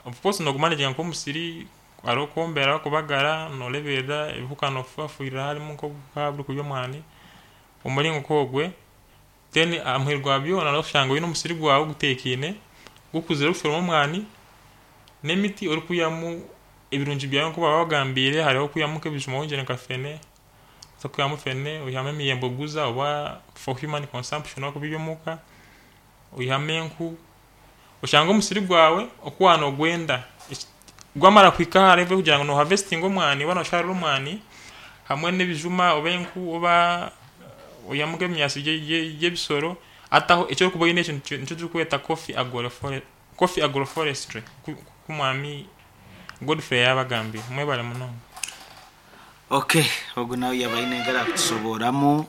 Of course noogumanaginga nk'omusiri, hariho okwombera, kubagara, nooreeberera ebihuka noobifuhirira harimu nk'obuhuka burikurya omwani, omuringo nk'ogwe. Then aha muheru gwa byona nooshanga oine omusiri gwawe guteekaine, gukuzire orikushoroma omwani n'emiti orikwihamu ebirungi byawe nk'oku baabagambiire, hariho okwihamu nk'ebijuma wongyere nka fene, so okwihamu fene, oihamu emiyembe oguza oba for human consumption okubirya omuka, oihamu enku, oshange omusiri gwawe oku waanoogwenda gwamara kuhika aha level y'okugira ngu noohavesitinga omwani oba nooshaarura omwani hamwe n'ebijuma oba enku oba oihamu nk'ebinyaasi by'ebisoro, hati aho eki orikuba oine ekyo nikyo turikweta coffee agroforestry nk'oku omwami Godfrey yaabagambiire. Mwebare munonga. Okay, ogu nawe yaba aine engeri akutusoboramu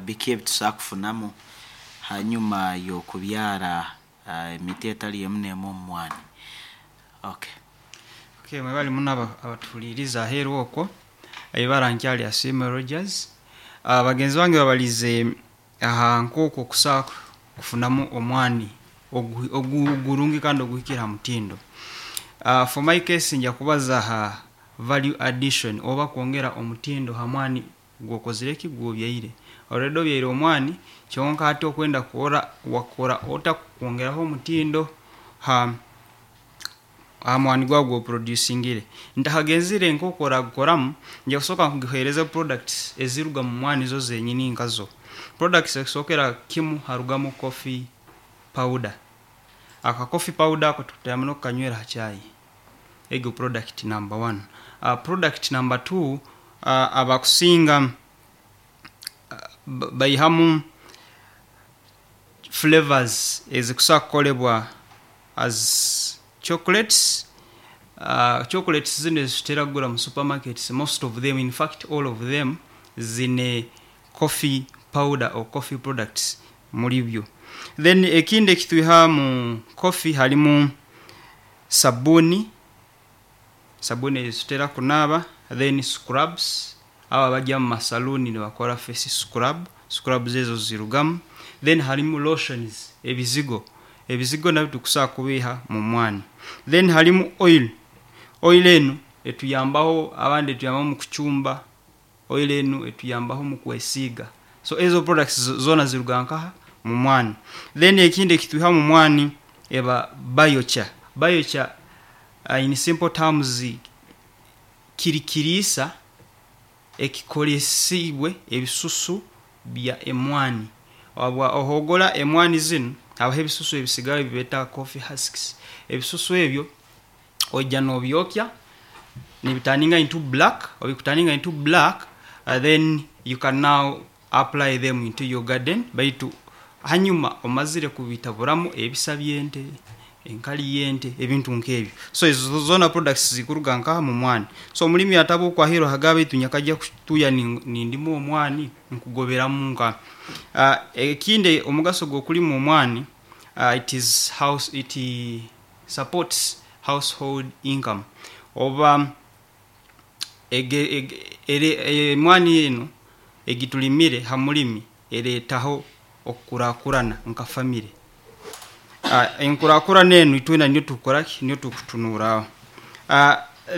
biki ebitusobola kufunamu hanyuma y'okubyara emiti etali emu n'emu omu mwani. Okay. Okay, mwebale muno abatuhuliiriza aheeru okwo. Ibara nkyali Asiimwe Rogers. Bagenzi bange babalize aha nk'oku okusobola kufunamu omwani ogurungi kandi oguhikire ha mutindo. For my case nja kubaza ha value addition oba kwongera omutindo ha mwani gwokozire ki? Gwobyaire. Already obyaire omwani, kyonka hati okwenda kurora wakora ota kwongeraho omutindo ha mwani gwawe gwoproducingire. Ntakagenzire nk'oku oragukoramu, nja kusooka nkuheereze products eziruga mu mwani zo zenyini nkazo. Products ekusookera kimu harugamu coffee powder. Aka coffee powder ako tukutera muno kukanywera ha chai. Ego product number one. Product number two, abakusinga baihamu flavors ezikusobola kukolebwa as chocolates. Chocolates zinu ezitutera kugura mu supermarkets, most of them, in fact all of them, zine coffee powder or coffee products muri byo. Then ekindi ekitwiha mu coffee harimu sabuni, sabuni ezitutera kunaaba, then scrubs, abo abajya mu masaluuni nibakora face scrub, scrubs ezo zirugamu. Then harimu lotions, ebizigo, ebizigo nabyo tukusobola kubiiha mu mwani. Then harimu oil, oil enu etuyambaho, abandi etuyambaho mu kucumba, oil enu etuyambaho mu kwesiiga. So ezo products zoona ziruga nkaha? Mu mwani. Then ekindi ekitwiha mu mwani eba biochar. Biochar in simple terms kiri kiriisa ekikolesiibwe ebisusu bya emwani. Ohogora emwani zinu, habaho ebisusu ebisigara ebibeeta coffee husks. Ebisusu ebyo oija nobyokya nibiturninga into black, obu bikuturninga into black, then you can now apply them into your garden, baitu hanyuma omazire kubitaburamu ebisa by'ente, enkali y'ente, ebintu nk'ebyo. So ezo zoona products zikuruga nkaha? Mu mwani. So omulimi ataba okwahiire agamba, baitu nyakajja kutuuya nindima omwani nkugoberamu nka. Ekindi omugaso gw'okulima omwani, it is house, it supports household income. Oba emwani enu egitulimire ha mulimi ereetaho okukurakurana nka family. Enkurakurana enu itwena niyo tukukora ki? Niyo tukutunurraho.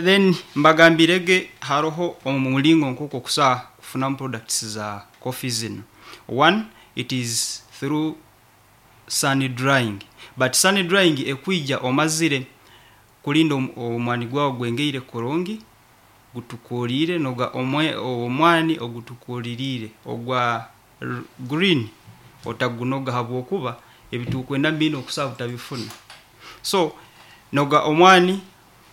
Then mbagambirege haroho omulingo nk'oku okusobola kufunamu products za coffee zinu. One, it is through sun drying, but sun drying ekwija omazire kulinda omwani gwawe gwengeire kurungi, gutukuliire, noga omwani ogutukuliriire ogwa green otagunoga habwokuba ebitukwenda binu okusobola butabifuna. So noga omwani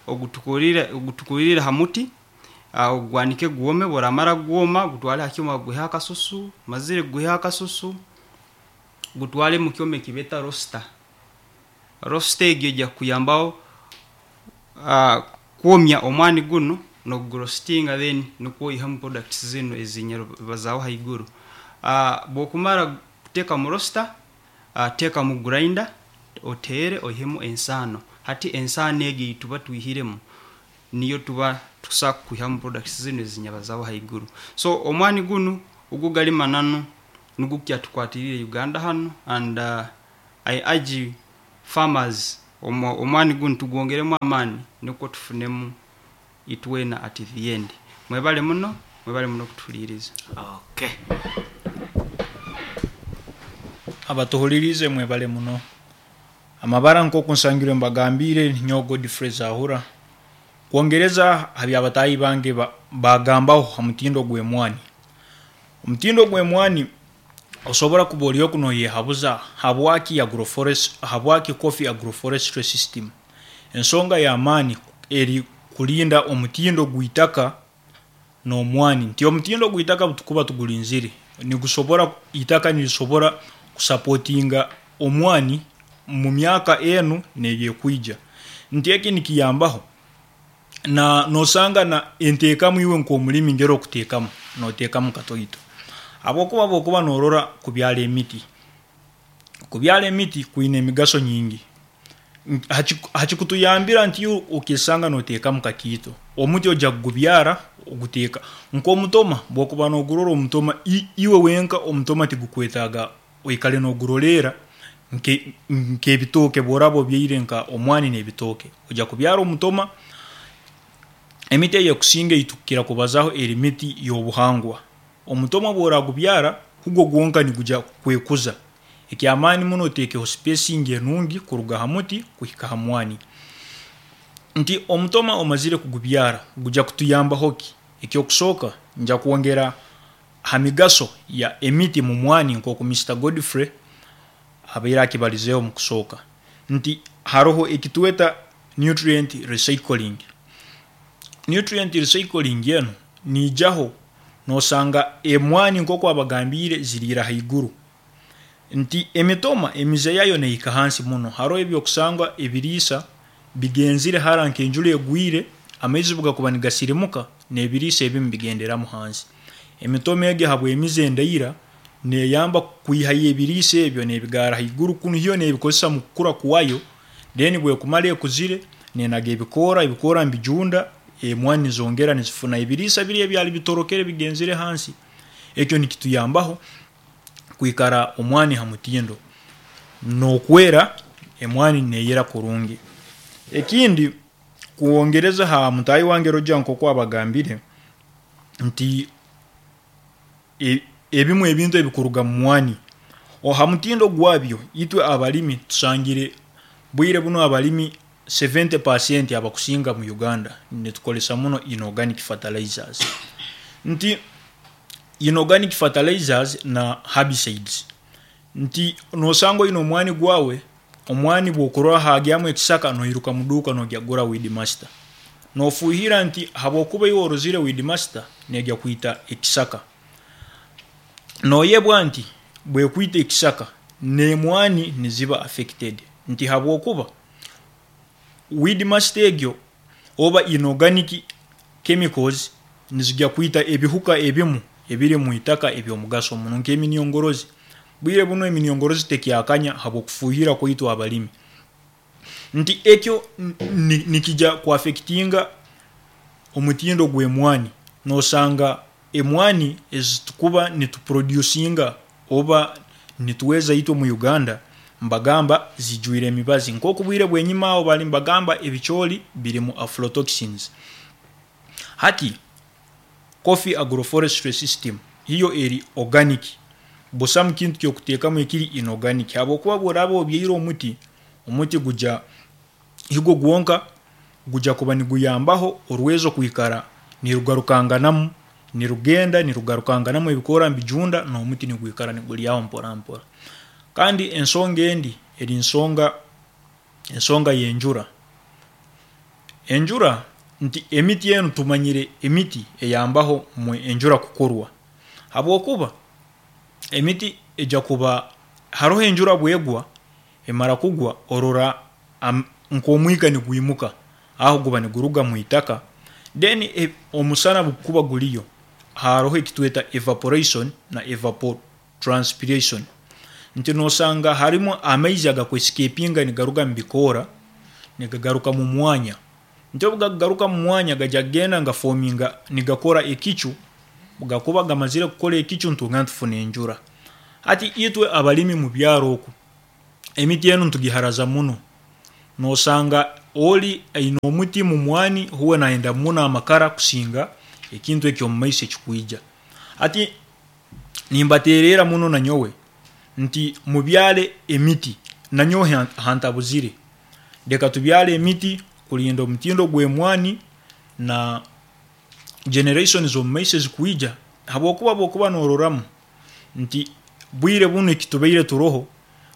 ogutukuliriire ha muti, ogwanike gwome, obu oramara gwoma, ogutwale ha kyoma baguheho akasusu, omazire kuguihaho akasusu, gutwale mu kyoma ekibeeta roaster. Roaster egi ejya kukuyambaho kwomya omwani gunu n'okuguroastinga, then nukwo oihemu products zinu ezinyabazaaho haiguru. Obu okumara kuteeka mu roaster, teeka mu grinder oteere oihemu ensaano. Hati ensaano egi eyituba twihiremu niyo tuba tukusobola kwihamu products zinu ezinyabazaaho haiguru. So omwani gunu ugwo gali mananu nugwo gukyatukwatiriire Uganda hanu and I urge farmers. Omwani gunu tugwongeremu amaani nukwo tufunemu itwena at the end. Mwebale muno, mwebale muno kutuhuliiriza. Okay. Abatuhulirize mwebale muno. Amabara nk'oku nsangirwe mbagambire, nyowe Godfrey Zahura. Kwongereza ha byabatahi bange bagambaho ha mutindo gw'emwani. Omutindo gw'emwani osobora kuba ori oku noyehabuza habwaki agroforest, habwaki coffee agroforestry system. Ensonga y'amaani eri kulinda omutindo gw'itaka n'omwani. Nti omutindo gw'itaka butukuba tugulinzire, nigusobora, itaka nirisobora kusapotinga omwani mu myaka enu n'eyekwija. Nti eki nikiyambaho na nosanga na enteekamu iwe nk'omulimi ngeri okuteekamu, noteekamu katoito. Habwokuba bwokuba norora kubyara emiti, kubyara emiti kwine emigaso nyingi. Hakikutuyambira nti iwe okesanga noteekamu kakiito. Omuti ojya kugubyara oguteeka nk'omutoma, bwokuba nogurora omutoma iwe wenka omutoma tigukwetaaga oikale noguroleera nk'ebitooke bworaba obyaire nka omwani n'ebitooke. Ojya kubyara omutoma, emiti eyekusinga eyitukukira kubazaho eri miti y'obuhangwa. Omutoma obworagubyara, hugwo gwonka nigujya kwekuza. Ekyamaani muno otekeho spacing enungi kuruga ha muti kuhika ha mwani. Nti omutoma omazire kugubyara, gujya kutuyambaho ki? Ekyokusooka, nja kwongera ha migaso ya emiti mu mwani nk'oku Mr Godfrey abaire akibalizeeho mu kusooka. Nti haroho ekitweta nutrient recycling. Nutrient recycling enu niijaho nosanga emwani nk'oku abagambiire ziriira haiguru. Nti emitoma emize yayo nehika hansi muno. Haroho ebyokusangwa ebiriisa bigenzire hara nk'enjura egwire, amaizi bugakuba nigasirimuka n'ebiriisa ebimu bigenderamu hansi. Emitoma egi habw'emize endaira neyamba kwihayo ebiriisa ebyo nebigarra haiguru kunu hiyo nebikozesa mu kukura kwayo, then bwekumara ekuzire nenaga ebikoora, ebikoora nibijunda, emwani nizongera nizifuna ebiriisa biri ebyali bitorokere bigenzere hansi. Ekyo nikituyambaho kwikara omwani ha mutindo n'okwera emwani neyera kurungi. Ekindi kwongereza ha mutaahi wange Roger nk'oku abagambire nti ebimu ebintu ebikuruga mu mwani, ha mutindo gwabyo itwe abalimi tusangire bwire bunu abalimi 70% abakusinga mu Uganda nitukozesa muno inorganic fertilizers. Nti inorganic fertilizers na herbicides. Nti nosanga oine omwani gwawe, omwani bwokurora hagyamu ekisaka noiruka muduuka nogya kugura weed master. Nofuhira nti habwokuba iwe orozire weed master negya kwita ekisaka. Noyebwa nti bwekwita ekisaka n'emwani niziba affected. Nti habwokuba weed master egyo oba inorganic chemicals nizijya kwita ebihuka ebimu ebiri mu itaka eby'omugaso muno nk'eminyongorozi. Bwire bunu eminyongorozi tekyakanya habw'okufuhira kwaitu abalimi. Nti ekyo nikija kuaffectinga omutindo gw'emwani. Nosanga emwani ezitukuba nituproducinga oba nituweza itwe mu Uganda mbagamba zijwire emibazi. Nk'oku bwire bw'enyuma aho bali mbagamba ebicooli birimu aflatoxins. Hati coffee agroforestry system hiyo eri organic. Busamu kintu ky'okuteekamu ekiri inorganic habwokuba bworaba obyaire omuti, omuti gujya higwo gwonka gujya kuba niguyambaho orwezo kwikara nirugarukanganamu, nirugenda nirugarukanganamu ebikoora nibijunda n'omuti nigwikara niguryaho mpora mpora. Kandi ensonga endi eri ensonga y'enjura. Enjura nti emiti enu tumanyire emiti eyambaho mu enjura kukorwa. Habwokuba emiti ejya kuba haroho enjura bwegwa, emara kugwa orora nk'omwika nigwimuka, aho guba niguruga mu itaka, then omusana bukuba guriyo, haroho ekitweta evaporation na evapotranspiration. Nti nosanga harimu amaizi agakwescapinga nigaruga mu bikoora nigagaruka mu mwanya. Nti obu gakugaruka mu mwanya gajya kugenda nigafominga nigakora ekicu, gakuba gamazire kukora ekicu nitwongera nitufuna enjura. Hati itwe abalimi mu byaro oku, emiti enu nitugiharaza muno. Nosanga oli aine omuti mu mwani huwe nayenda muno amakara kusinga ekintu eky'omu maiso ekikwija. Hati nimbateererra muno nanyowe nti mubyale emiti, nanyowe hantabuzire, leka tubyale emiti kulinda omutindo gw'emwani na generation z'omu maiso ezikwija, habwokuba obu okuba nororamu nti bwire bunu ekitubaire turoho,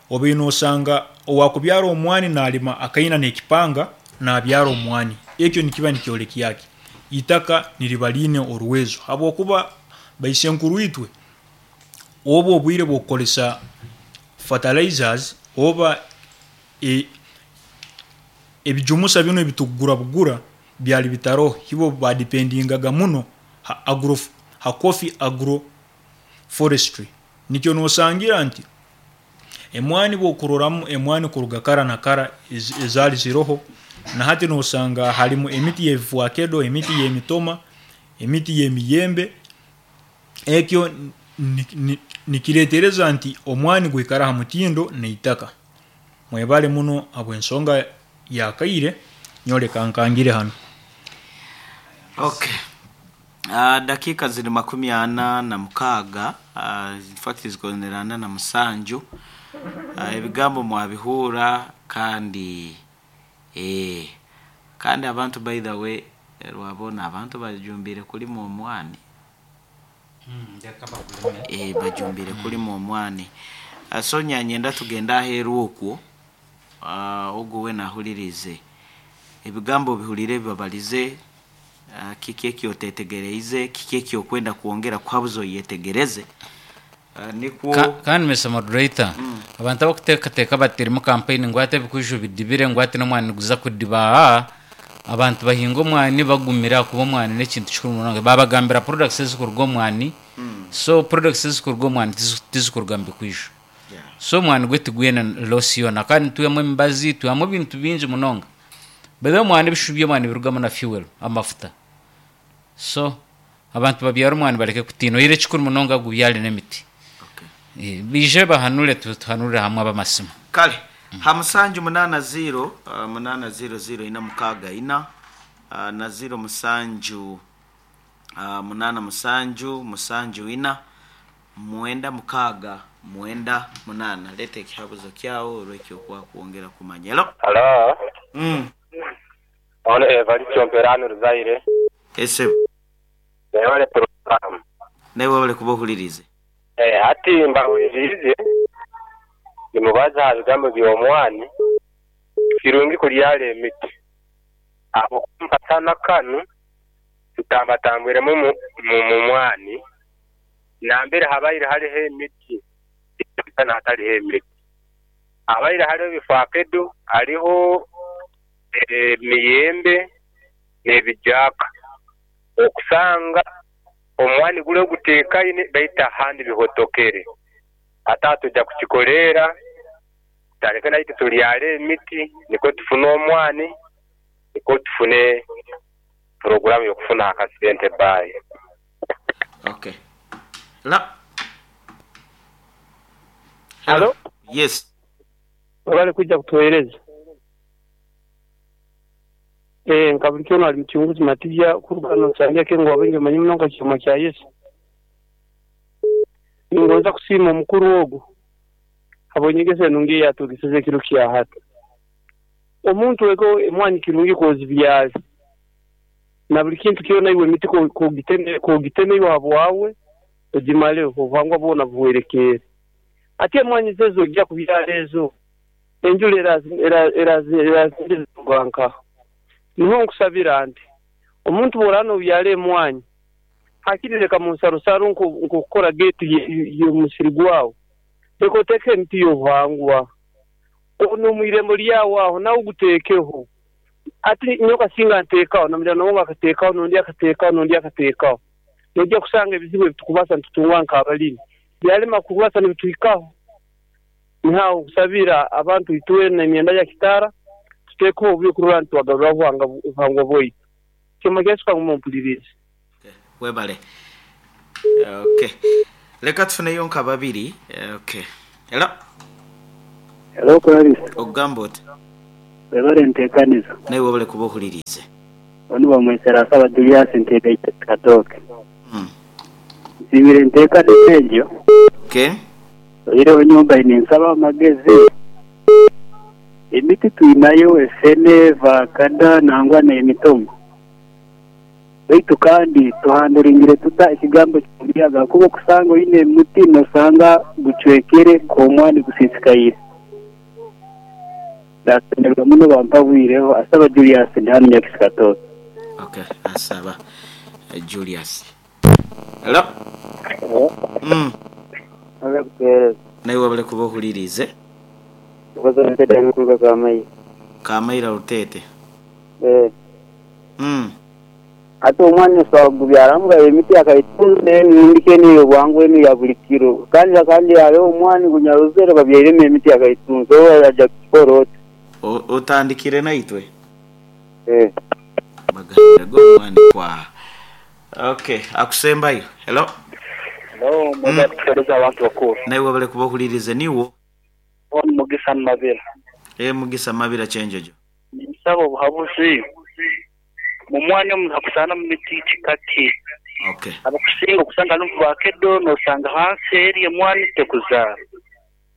obaire nosanga owaakubyara omwani naalima akaina n'ekipanga naabyara omwani, ekyo nikiba nikyolekya ki? Itaka niriba riine oruwezo habwokuba baisenkuru itwe obu obwire bw'okukozesa fertilizers oba ebijumusa binu ebitukugura bugura byali bitaroho, ibo baadipendingaga muno ha agro ha coffee agro forestry. Nikyo nosangira nti emwani obu okuroramu emwani kuruga kara na kara ezaali ziroho, na hati nosanga harumu emiti y'ebifakedo, emiti y'emitoma, emiti y'emiyembe, ekyo nikireetereza nti omwani gwikara ha mutindo n'itaka. Mwebale muno habw'ensonga y'akaire, nyowe leka nkangire hanu. Okay. Dakiika ziri makumi ana na mukaaga, in fact zikonere ana na musanju. Ebigambo mwabihuura kandi eeh kandi abantu by the way rwabona abantu bajumbiire kulima omwani. Bajumbiire kulima omwani. So nyanyenda tugende aheeru okwo, ogu weena ahuliriize ebigambo obihuliire ebi babalize, kiki eki oteetegereize, kiki eki okwenda kwongera kuhabuza oyetegereze, nikwo. Kandi Mister Moderator, abantu abakuteekateeka bati erimu kampeyini ngu hati ebikwijo bidibire ngu hati n'omwani niguza kudiba aa, abantu bahinga omwani bagumire ahakuba omwani n'ekintu kikuru munonga. Baabagambira products ezikuruga omu mwani, so products ezikuruga omu mwani tizikuruga mu bikwijo. So omwani gwe tigwine loss yoona kandi nitwihamu emibazi, twihamu ebintu bingi munonga. By the way omwani ebishushu by'omwani nibirugamu na fuel, amafuta. So abantu babyare omwani bareke kutiina oyihireho ekikuru munonga gubyare n'emiti. Baije bahanure tuhanurire hamwe ab'amasimu. Kale, ha musanju munaana ziiro, munaana ziiro ziiro ina mukaaga ina, na ziiro musanju munaana musanju musanju ina, mwenda mukaaga mwenda munaana. Leeta ekihabuzo kyagho olw'eky'okuba kwongera kumanya. Hello. Halo. Ono Evaristo Mperani Ruzaire. Esebo. Webale puroguramu. Naiwe webale kuba ohuliriize. Hati mbahuliriize nimubaza aha bigambo by'omwani, kirungi kubyara emiti ahabw'okuba omu kasana kanu tutambatambwiremu mu mwani nambere habaire hariho emiti tiharikushushana hatariho emiti. Habaire hariho ebifakedo, hariho emiyembe n'ebijaaka. Okusanga omwani gule oguteekaine baitu ahandi bihotokere. Hati aha twija kukikoreera tutandike naitwe tubyare emiti nikwo tufune omwani nikwo tufune puroguraamu y'okufuna akasente. Bye. Okay. La. Halo. Yes. Webale kwija kutuwereza. Eeh nka buli kyoona ali muchunguzi Matija kuruga hano Nsambya Kengo wabaingi bamanyi muno nka Kyoma kya Yesu. Ningonza kusiima omukuru ogu habw'enyegesa enungi ei atwegeseze ekiro kya hati. Omuntu ego emwanyi kirungi k'ozibyare na buli kintu kyona iwe emiti k'ogiteme iwe habwawe ogimareho obuhangwa bwona buhwerekeere. Hati emwanyi zo ez'oija kubyara ezo enjura erazindiza nkaha? Niho nkusabira nti omuntu bw'oraaba n'obyara emwanyi hakiri leka mu nsarosaro nk'okukora geeti y'omusiri gwawe, leka oteekeho emiti y'obuhangwa. N'omu irembo lyawe aho nawe oguteekeho. Hati nyowe kasinga nteekaho, na muliraanwa wange akateekaho, n'ondi akateekaho, n'ondi akateekaho. Noija kusanga ebizibu ebi tukubaasa nitutunga nk'abalimi byalema kubaasa nibituhikaho. Niho aho nkusabira abantu itwena emyenda ya kitaara tuteekeho oburyo kurora nti twagaruraho obuhangwa bwaitu. Kyoma kya Yesu kangume ompulirize. Webale. Okay. Leka tufuneyo nka babiri. Okay. Hello. Hello Clarissa. Ogamba ota? Webale nteekaniza. Nawe webale kuba ohuliriize. Onu bamwesera Asaba Julius nteekaite Katooke. Nsiimire enteekaniza egyo. Okay. Oihireho nyowe mbaire ninsaba amagezi. Emiti twinayo efene, vakada nangwa n'emitomo. Baitu kandi tuhanduringire tuta ekigambo ky'omuyaga ahakuba okusanga oine omuti nosanga gucwekere nk'omwani gusiisikaire. Nasemererwa muno bampabwireho. Asaba Julius ndi hanu Nyakisi Katooke. Okay, Asaba Julius. Hello. Webale kutuhereza. Naiwe webale kuba ohuliriize. Obaza Ntete ali kuruga Kamaira. Kamaira Rutete. Eh. Hati omwani osobola kugubyaramu nga emiti yakaitunzi n'emindi enu ey'obwangu enu eya buli kiro. Kandi kandi hariho omwani gunyarozere babyairemu emiti yakaitunzi oba aja kukikora ota? Otandikire naitwe? Eh. Bagambire go omwani kwaha. Okay, akusembayo. Hello. Hello, mwebale kutuhereza abantu bakuru. Naiwe webale kuba ohuliriize niiwo. Onu Mugisa Mabira. Eh Mugisa Mabira Kyenjojo. Ninsaba obuhabuzi mu mwani omu hakusaana mu miti kika ki? Okay. Abakusinga okusanga harimu vakedo nosanga hansi eri emwani tekuzaara.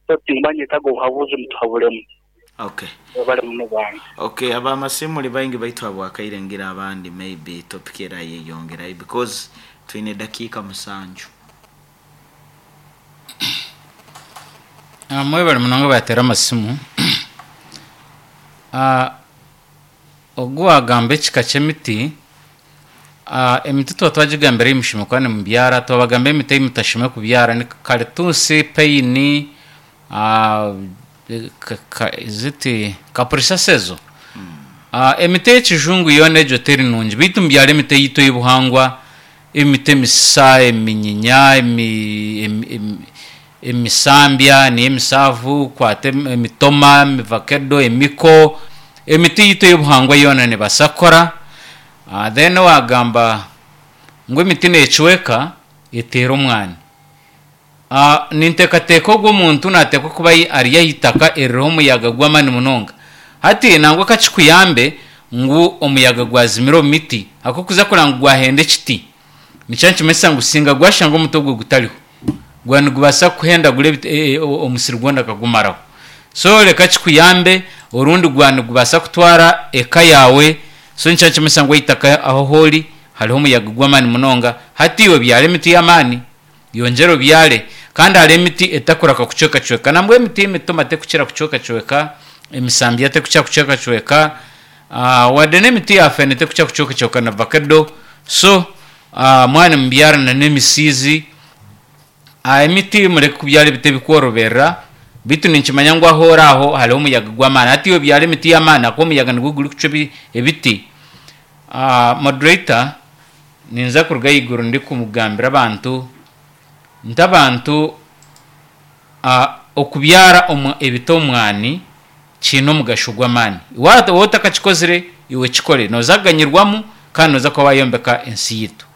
So tinkumanya nyetaga obuhabuzi mutuhabulemu. Okay. Webale muno bange. Okay, abamasimu muli baingi baitu habwakaire ngira abandi maybe topic erayeyongerayo because twine edakiika musanju. Mwebale munonga abateera amasimu. Ogu waagamba ekika ky'emiti, emiti tuba twagigambira ei mushemeriire kuba nimubyara, twabagambira emiti ei mutashemereire kubyara ni karituusi, peyini, is it kapurisasi ezo? Emiti ey'ekijungu yoona egyo teri nungi beitu mubyare emiti eyaitu ey'obuhangwa, emiti emisisa, eminyinya, emisambya niyo emisaavu, kwata emitoma, emivakedo, emiko, emiti yaitu ey'obuhangwa yoona neebaasa kukora. Then waagamba ngu emiti neecweka eteera omwani. Ninteekateeka ogwo omuntu naateekwa kuba ari aha itaka eririho omuyaga gw'amaani munonga. Hati nangwa ka kikuyambe ngu omuyaga gwazimira omu miti ahabw'okuza kureba ngu gwahenda ekiti nikyo nikimanyisa ngu singa gwashanga omuti ogwo gutariho gwaba nigubaasa kuhendagura omusiri gwona gukagumaraho. So reka kikuyambe orundi gwaba nigubaasa kutwara eka yaawe so nikyo nikimanyisa ngu eitaka ahu ori hariho omuyaga gw'amaani munonga. Hati iwe byara emiti y'amaani yongyera obyare kandi hariho emiti etakuraka kucwekacweka. Nambwenu emiti y'emitoma terikukira kucwekacweka, emisambya terikukira kucwekacweka, wadde n'emiti ya feene terikukira kucwekacweka na vakedo. So mwaba nimubyara n'emisiizi, emiti mureke kubyara ebiti ebikworoberera beitu ninkimanya ngu ahu ori aho hariho omuyaga gw'amaani. Hati iwe byara emiti y'amaani ahakuba omuyaga nigwo gurikucwa ebiti. Moderator, ninza kuruga ahaiguru ndikugambira abantu nti abantu okubyara ebiti omwani kiine omugasho gw'amaani. Waaba otakakikozire iwe kikore nooza kuganyirwamu kandi nooza kuba waayombeka ensi yaitu.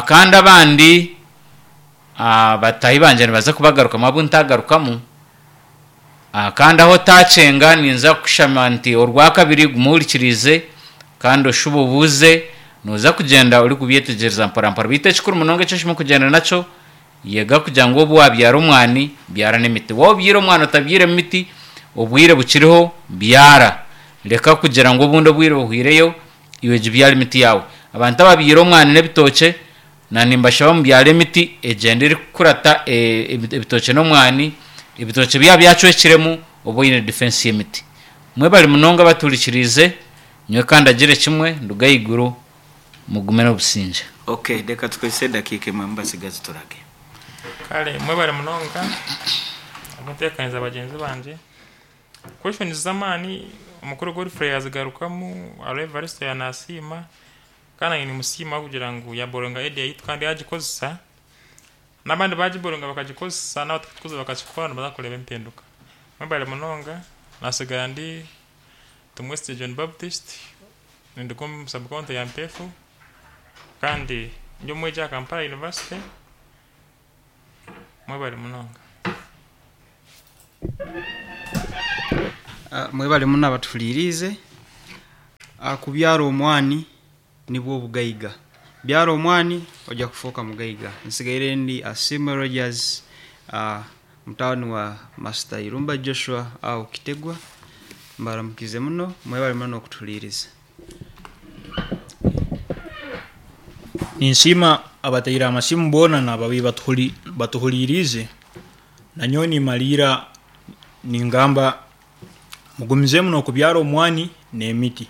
Kandi abandi bataahi bangye nibaza kubagarukamu abu ntagarukamu. Kandi ahu otaakyenga ninza kukushaba nti orwakabiri guma ohurikiriize kandi oshube obuuze, nooza kugyenda orikubyetegyereza mporampora. Beitu ekikuru munonga eki oshemereire kugyenda nakyo, yega kugira ngu obu waabyara omwani, byara n'emiti. Waaba obyaire omwani otabyairemu miti, obwire bukiriho byara. Reka kugira ngu obundi obwire buhweireyo, iwe gibyare emiti yaawe. Abantu ababyaire omwani n'ebitookye, na nimbashaba mubyare emiti egyende erikukurata ebitookye n'omwani, ebitookye byaba byacwekiremu obe oine defense y'emiti. Mwebare munonga abatuhurikiriize, nyowe ka ndagire kimwe nduge ahaiguru, mugume n'obusingye. Ok, reka tukozese edakiika emwe mubasigazi turage. Kare mwebare munonga ahabw'entebeekanisa bagyenzi bangye. Questions z'amaani omukuru Godfrey yazigarukamu, hariho Evaristo yaanasiima kandi naanye nimusiima ahabw'okugira ngu yaaboronga idea yaitu kandi yaagikozesa. N'abandi baagiboronga bakagikozesa n'abatakugikoza bakakikora nibaza kureeba empinduka. Mwebare munonga, naatsigara ndi Tumwesigye John Baptist, ninduga omu sub county ya Mpeefu kandi ndi omwegi aha Kampala University. Mwebare munonga. Mwebale muno abatuhuliriize. Kubyara omwani nibwo obugaiga. Byara omwani ojja kufuuka mugaiga. Nsigaire ndi Asiimwe Rogers, mutawuni wa Master Irumba Joshua aho Kitegwa. Mbaramukize muno, mwebale muno okutuhuliriza. Ninsiima abataire amasimu boona nababi batuhuliriize. Nanyowe nimaliira ningamba mugumizeemu n'okubyara omwani n'emiti.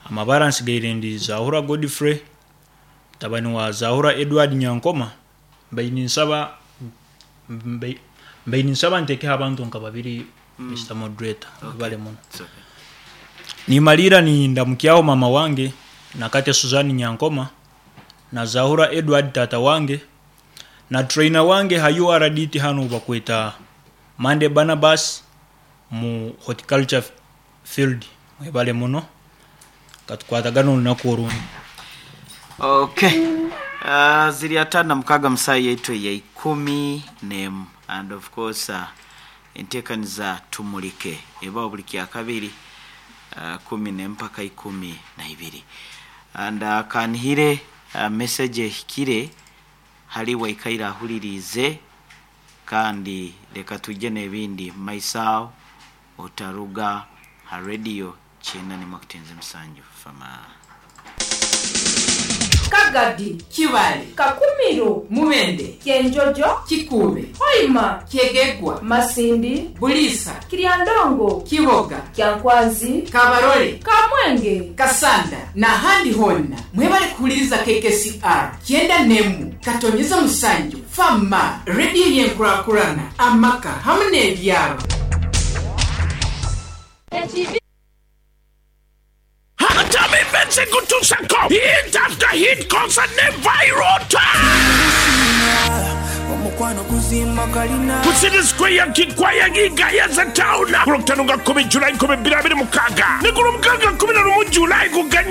Amabara nsigaire ndi Zahura Godfrey, mutabani wa Zahura Edward Nyankoma. Mbaire ninsaba mbaire ninsaba ntekeho abantu nka babiri, Mr. Moderator. Webale muno. It's okay. Nimaliira nindamukyaho mama wange Nakate Suzan Nyankoma na Zahura Edward tata wange na trainer wange ha URDT hanu bakweta Mande Barnabas mu horticulture field. Mwebale muno, katukwatagana olunaku orundi. Okay. Ziri 56 mu saaha yaitu eya 11, and of course enteekaniza tumulike ebaho buli kyakabiri 11 mpaka 12, and kanihire message ehikire hali waikaire ahuliriize, kandi leka tujje n'ebindi mumaiso aho. Otaruga ha radio 91.7 Fama. Kagadi, Kibale, Kakumiro, Mubende, Kyenjojo, Kikuube, Hoima, Kyegegwa, Masindi, Buliisa, Kiryandongo, Kiboga, Kyankwanzi, Kabarole, Kamwenge, Kasanda n'ahandi honna. Mwebale kuhuliriza KKCR 91.7 Fama rediyo y'enkurakurana amaka hamu n'ebyaro. Kutusako hit after hit concert ne viral ku City Square Kikwaya Gigayaza Town ku Lwokutaano nga 10 July 2026 ne ku Lwomukaaga 11 July kuganya.